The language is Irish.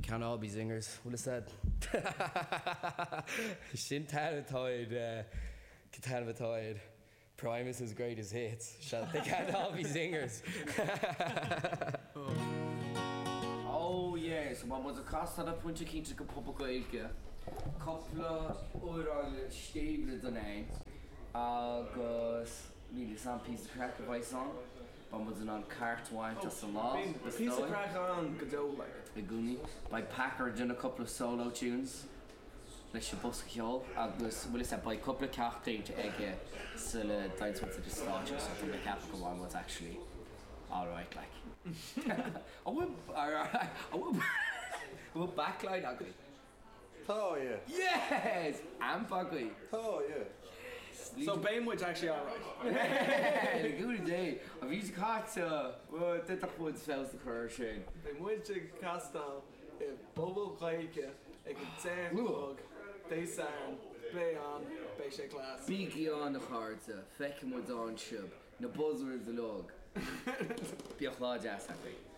can't all be zingers, bhfuil fhios a'd. Sin an t-ainm atá ar, an t-ainm atá ar Primus's Greatest Hits, sea, They Can't All Be Zingers. Oh yeah, so beidh muid ag castáil ar pointe cinnte go Puball Gaeilge, cúpla amhrán stéibhle don ain agus níl fhios a'm píosa craic a bheas ann. Beidh muid in ann cairt a bhaint as an lá, is Píosa dóigh. craic ann go deo, like. I gcónaí. Beidh Packer ag déanamh cúpla solo tunes leis an bosca ceoil agus, bhfuil fhios a'd, beidh cúpla ceacht déanta aige sula dtéann muid ar an stáitse so tá mé ag ceapadh go mbeidh muid actually alright like. An bhfuil, an bhfuil, an bhfuil backline againn? Tá, yeah. Yes! Amp agaibh? Tá, yeah. Yes! So beidh muid actually alright. Le cúnamh Dé, an mhí seo caite, d'fhéadfadh muid feabhas a chur air sin. Beidh muid ag castáil i bPuball Gaeilge ag a 10 a chlog Dé Sathairn, beidh ann, beidh sé class. Bígí ann a chairde, feicfidh muid ann sibh, na buzzwords uilig. Bíodh lá deas agaibh.